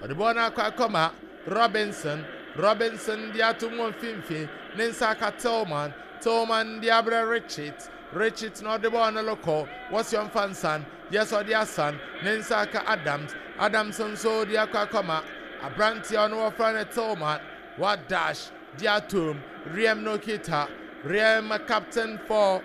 Ɔde bɔɔl no akɔ akɔma Robinson. Robinson de ato mu mfimfini. Ne nsa aka Tillman. Tillman de abrɛ Richards. Richards na ɔde bɔɔl no rekɔ. Wɔsi ɔmfa nsan. Yes, ɔde asan. Ne nsa aka Adams. Adams nso de akɔ akɔma aberanteɛ ɔno wɔfrɛ no Tillman. Wa dash de atom. Riem no kita. Riem, captain for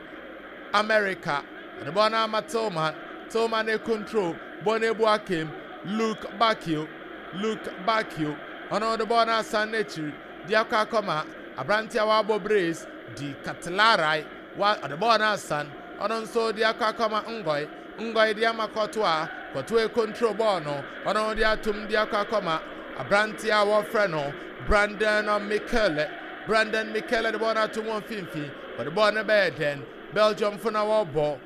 America. Ɔde bɔɔl no ama Tillman. Tillman e control. Bɔɔl no ebu akem. Luke Bakio. Luke Bakio. Ɔno ɔde bɔɔl no asan n'akyiri. De akɔ akɔma aberanteɛ a wabɔ brace di Katlarai. Wa ɔde bɔɔl no asan. Ɔno nso de akɔ akɔma Ngoy. Ngoy de ama Kɔtoa. Kɔtoa e control bɔɔl no. Ɔno de atom de akɔ akɔma aberanteɛ a wɔfrɛ no Brandon Michele. Brandon Michele de bɔɔl no ato wɔn mfimfini. Wɔde bɔɔl no bɛyɛ dɛn? Belgium fo na wɔrebɔ.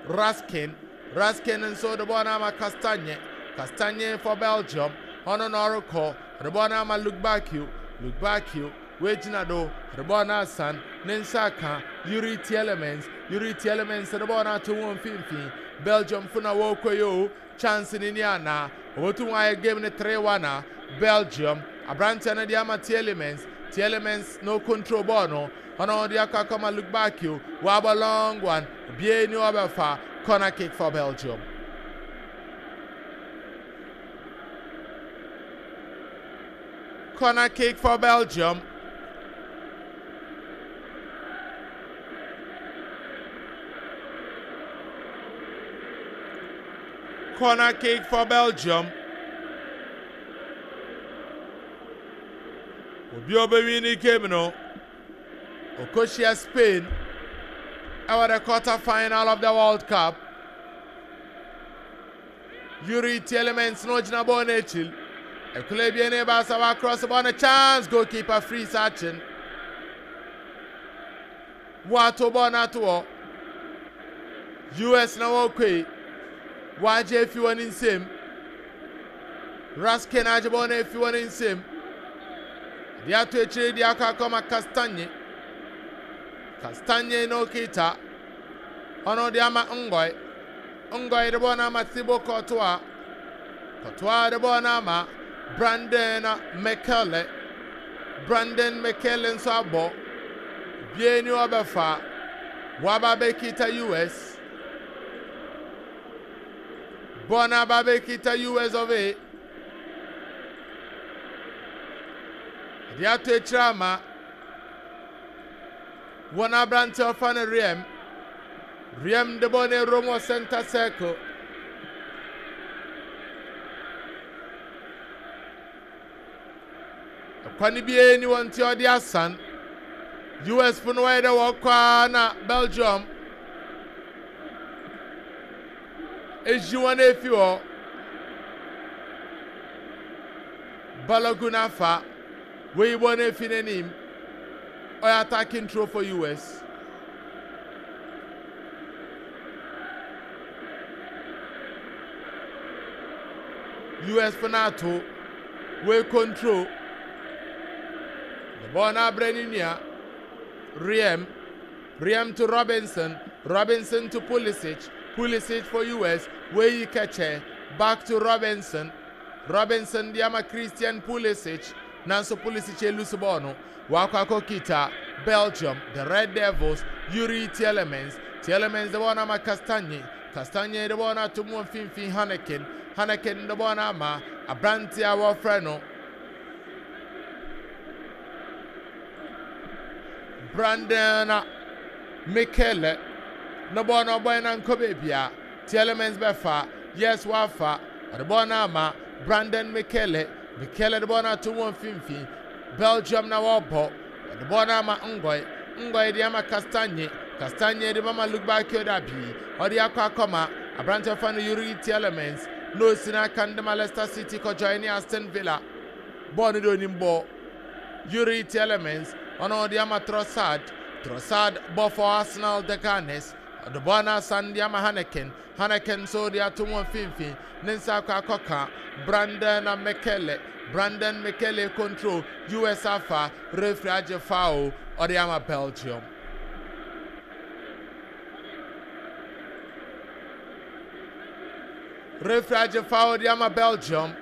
Raskin. Raskin nso de bɔɔl no ama Castagne. Castagne for Belgium. Ɔno na ɔrekɔ. Ɔde bɔɔl no ama Luke Bakio. Luke Bakio woegyina do. Ɔde bɔɔl no asan. Ne nsa aka Yuri Tielemans. Yuri Tielemans de bɔɔl no ato wɔn mfimfini. Belgium fo na wɔrekɔ yi o. Chance ni ni ana. Obotum ayɛ game no 3-1 a Belgium. Aberanteɛ no de ama Tielemans. Tielemans no control bɔɔl no. Ɔno de akɔ akɔma Luke Bakio. Wabɔ long one. Obiara ni ɔbɛfa. Corner kick for Belgium. Corner kick for Belgium. Corner kick for Belgium. Obi a ɔbɛwin ne game no, okohyia Spain ɛwɔ the quarter final of the World Cup. Yuri Tielemans na ogyina bɔɔl n'ekyir. Ɛkula ebien ne baasa wa cross bɔɔl no, chance, goalkeeper free sakyen. Wato bɔɔl no ato hɔ. US na wɔrekɔ yi. Wagye efi wɔn nsam. Raskin agye bɔɔl no efi wɔn nsam. De ato akyire de akɔ akɔma Castagne. Castagne na okita. Ɔno de ama Ngoy. Ngoy de bɔɔl no ama Thibaut Courtois. Courtois de bɔɔl no ama Brandon Mechele. Brandon Mechele nso abɔ. Bie ni ɔbɛfa. Waba abɛkita US. Bɔɔl no aba abɛkita US of A. De ato akyire ama wɔn aberante ɔfa no Riem. Riem de bɔɔl no awuram wɔ center circle. Ɛkwan biara ni wɔn ti ɔde asan. US fo no wɔyɛ dɛ wɔkɔ ara na Belgium eyi wɔn efi hɔ. Balogun afa wɔyi bɔɔl no efi n'anim. Ɔyɛ attacking throw for US. US fo no ato wei control. The ball no abrɛ ne nua Riem. Riem to Robinson. Robinson to Pulisic. Pulisic for US. Wei kɛkyɛ. Back to Robinson. Robinson de ama Christian Pulisic. Nanso Pulisic elose bɔɔl no. Wakɔ akɔkita Belgium, the Red Devils, Yuri Tielemans. Tielemans de bɔɔl no ama Castagne. Castagne de bɔɔl no ato mu wɔ mfimfini Haneken. Haneken de bɔɔl no ama aberante a wɔfrɛ no Brandon Michele. Ne bɔɔl no ɔbɔe na nkɔ beebia. Tielemans bɛfa. Yes, wafa. Ɔde bɔɔl no ama Brandon Michele. Michele de bɔɔl no ato mu wɔ mfimfini. Belgium na wɔrebɔ. Wɔde bɔɔl no ama Ngoy. Ngoy de ama Castagne. Castagne de mama Luke Bakio Dabi. Ɔde akɔ akɔma aberante fa no Yuri Tielemans. Na osi n'aka de ma Leicester City kɔ ne Aston Villa. Bɔɔl no de onim bɔ. Yuri Tielemans ɔno ɔde ama Trossard. Trossard bɔ for Arsenal, the Gunners. Ɔde bɔɔl no asan de ama Haneken. Haneken nso de ato wɔn mfimfini. Ne nsa akɔ akɔka Brandon Mechele. Brandon Mechele control. US afa. Referee agye foul. Ɔde ama Belgium. Referee agye foul de ama Belgium.